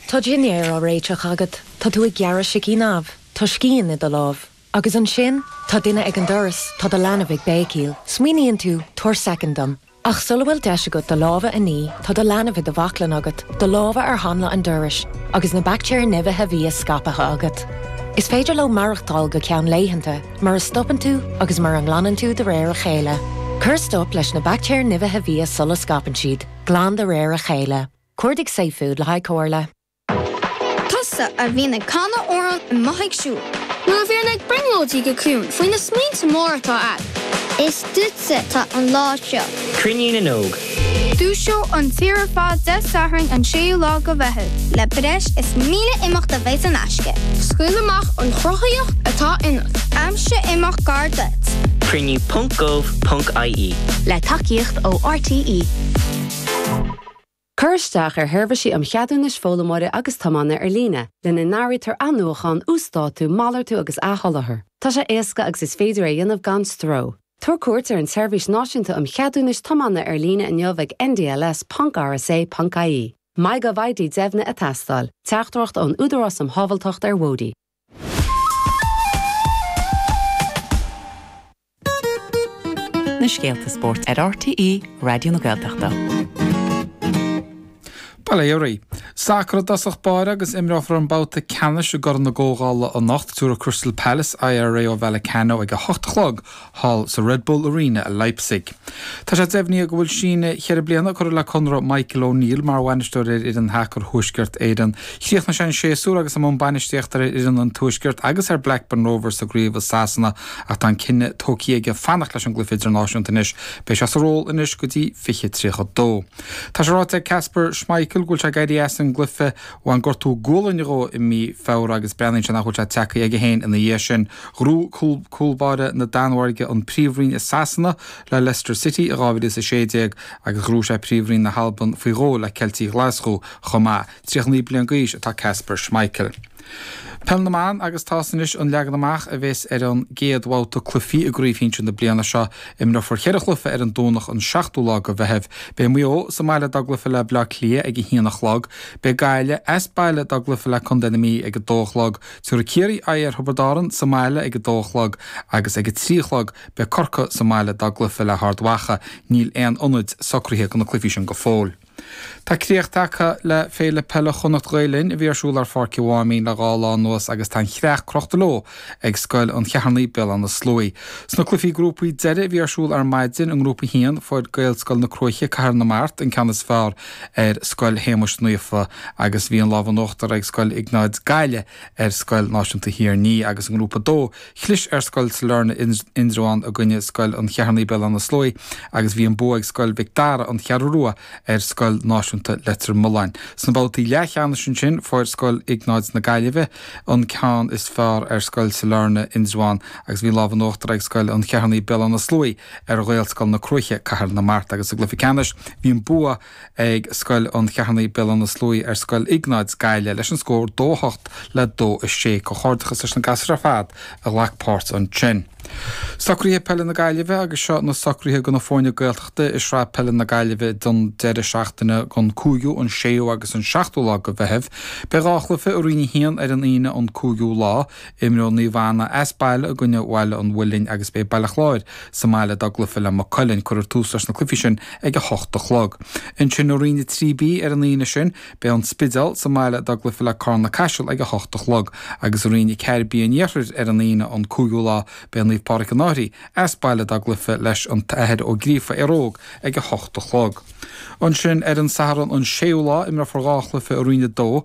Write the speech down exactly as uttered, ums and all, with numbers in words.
Tá dinnéar á réiteach agat, Tá tú ag gearradh sicín amh, Tá scian i do lámh. Agus ansin tá duine ag an doras tá do leanbh ag béicíl, Smaoiníonn tú tabhair soicind dom. Ach sula bhfuil deis agat do lámha a ní tá do leanbh i do bhaclainn agat, do lámha ar hanla an dorais, agus na baictéir nimhithe bia scaipthe agat. Is féidir leo maireachtáil go ceann laethanta, mura stopann tú agus mura nglanann tú de réir a chéile. Cuir stop leis na baictéir nimhithe bia sula scaipeann siad, glan de réir a chéile. Cuardaigh safefood le haghaidh comhairle. Tusa a bhíonn ag canadh amhrán amuigh ag siúl. Nó a bhíonn ag brionglóidí go ciúin faoi na smaointe móra atá agat. Is duitse atá an lá seo. Cruinniú na nÓg. Dúiseoidh an tír ar fad Dé Sathairn an séú lá de Mheitheamh. Le breis is míle imeacht a bheidh in aisce. Scaoil amach an chruthaíocht atá ionat. Aimsigh imeacht gar duit. Cruinniú.gov.ie Le tacaíocht ó RTÉ. Cuir isteach ar sheirbhísí um cheadúnais foghlaimeora agus tiomána ar líne, lena n-áirítear athnuachan, uasdátú, malartú agus athsholáthar. Tá sé éasca agus is féidir é a dhéanamh gan stró. Tabhair cuairt ar an tseirbhís náisiúnta um cheadúnais tiomána ar líne inniu ag ndls.rsa.ie. MyGovID deimhnithe ag teastáil, Teachtaireacht ón Údarás um Shábháilteacht ar Bhóithre. Na scéalta spóirt ar RTÉ Raidió na Gaeltachta. Bail ó Dhia oraibh. Sacar i dtosach báire agus imreofar an babhta ceannais i gCorn na gComhdhála anocht tabharfaidh Crystal Palace aghaidh ar Rayo Vallecano ag a hocht a chlog thall sa Red Bull Arena i Leipzig. Tá sé deimhnithe go bhfuil síneadh cheithre bliana curtha le conradh Michael O'Neill mar bhainisteoir ar fhoireann shacair Thuaisceart Éireann. Chríochnaigh sé an séasúr agus i mbun bainistíochta ar fhoireann an Tuaiscirt agus ar Blackburn Rovers sa gcraobh i Sasana ach tá an cinneadh tógtha aige fanacht leis an gcluiche idirnáisiúnta anois. Beidh sé sa ról anois go dtí fiche tríocha dó. Tá sé ráite ag Kasper Schmeichel go bhfuil sé ag éirí as an gcluiche ó bhain gortú gualainne dhó i mí Feabhra agus breathnaíonn sé nach bhfuil sé tagtha aige féin ina dhiaidh sin. Ghnóthaigh cúl báire na Danmhairge an Príomhroinn i Sasana le Leicester City i dhá mhíle is a sé déag agus ghnóthaigh sé Príomhroinn na hAlban faoi dhó le Ceiltigh Ghlaschú chomh maith. Tríocha naoi bliain d'aois atá Kasper Schmeichel. Peil na mBan agus tá's anois an leagan amach a bheas ar an gcéad bhabhta cluichí i gcraobh shinsir na bliana seo. Imreofar ceithre chluiche ar an Domhnach an seachtú lá de Mheitheamh. Beidh Maigh Eo sa mbaile dá gcluiche le Baile Átha Cliath ag a haon a chlog. Beidh Gaillimh as baile dá gcluiche le Contae na Mí ag a dó a chlog. Tabharfaidh Ciarraí aghaidh ar Thiobraid Árann sa mbaile ag a dó a chlog agus ag a trí a chlog beidh Corcaigh sa mbaile dá gcluiche le hArd Mhacha. Níl aon ionaid socraithe do na cluichí sin go fóill. Tá críoch tagtha le Féile Peile Chonnacht Ghael Linn a bhí ar siúl ar Pháirc an Mháimín le dhá lá anuas agus tá an chreach crochta leo ag Scoil an Cheithearnaigh, Béal Átha na Sluaighe. Sna cluichí grúpaí deiridh a bhí ar siúl ar maidin i nGrúpa a haon fuair Gaelscoil na Cruaiche, Cathair na Mart, an ceann is fearr ar Scoil Shéamuis Naofa agus bhí an lámh in uachtar ag Scoil Iognáid Gaillimh ar Scoil Náisiúnta Thír an Fhia agus i nGrúpa a dó chlis ar Scoil Sailearna Indreabhán i gcoinne Scoil an Cheithearnaigh, Béal Átha na Sluaighe agus bhí an bua ag Scoil Mhic Dara, An Cheathrú Rua, ar Scoil Náisiúnta Leitir Mealláin. Sna babhtaí leathcheannais ansin fuair Scoil Iognáid na Gaillimhe an ceann is fearr ar Scoil Sailearna, Indreabhán agus bhí lámh in uachtar ag Scoil an Cheithearnaigh, Béal Átha na Sluaighe ar Ghaelscoil na Cruaiche, Cathair na Mart agus sa gcluiche ceannais bhí an bua ag Scoil an Cheithearnaigh, Béal Átha na Sluaighe ar Scoil Iognáid, Gaillimh leis an scór dó a hocht le dó a sé. Comhghairdeachas leis na gasúir ar fad a ghlac páirt ansin. Socruithe Peile na Gaillimhe agus seo na socruithe do na foirne Gaeltachta i Sraith Peile na Gaillimhe don deireadh seachtaine den cúigiú, an séú agus an seachtú lá de Mheitheamh. Beidh dhá chluiche i Roinn a haon ar an Aoine an cúigiú lá. Imreoidh Naomh Anna as baile i gcoinne Bhaile an Mhuilinn agus beidh Baile Chláir sa mbaile dá gcluiche le Maigh Cuilinn. Cuirfear tús leis na cluichí sin ag a hocht a chlog. Ansin i Roinn a trí B ar an Aoine sin, beidh An Spidéal sa mbaile dá gcluiche le Carna-Caiseal ag a hocht a chlog agus i Roinn a ceathair B an Iarthair ar an Aoine an cúigiú lá, beidh Naomh Pádraig an Fhairche as baile dá gcluiche leis an tAthair Ó Gríofa, Éire Óg ag a hocht a chlog. Ansin ar an Satharn an séú lá, imreofar dhá chluiche i Roinn a dó.